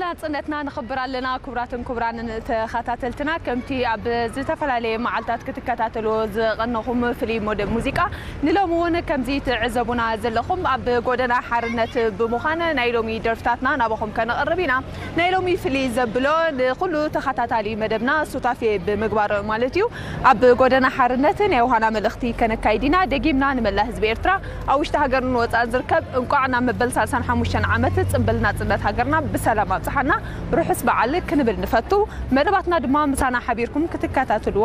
ናጽነትና ንኽብር ኣለና። ክቡራትን ክቡራንን ተኸታተልትና፣ ከምቲ ኣብ ዝተፈላለየ መዓልታት ክትከታተልዎ ዝቐነኹም ፍሉይ መደብ ሙዚቃ፣ ንሎሚ እውን ከምዚ ትዕዘቡና ዘለኹም ኣብ ጎደና ሓርነት ብምዃን ናይ ሎሚ ደርፍታትና ናባኹም ከነቕርብ ኢና። ናይ ሎሚ ፍልይ ዘብሎ ንኹሉ ተኸታታሊ መደብና ሱታፌ ብምግባር ማለት እዩ። ኣብ ጎደና ሓርነት ናይ ዮሃና መልእኽቲ ከነካይድ ኢና። ደጊምና ንመላ ህዝቢ ኤርትራ ኣብ ውሽጢ ሃገርን ወጻእን ዝርከብ እንቋዕ ናብ መበል ሰላሳን ሓሙሽተን ዓመት ጽንብል ናጽነት ሃገርና ብሰላም ኣብጽሓና ርሑስ በዓል ክንብል ንፈቱ። መደባትና ድማ ምሳና ሓቢርኩም ክትከታተልዎም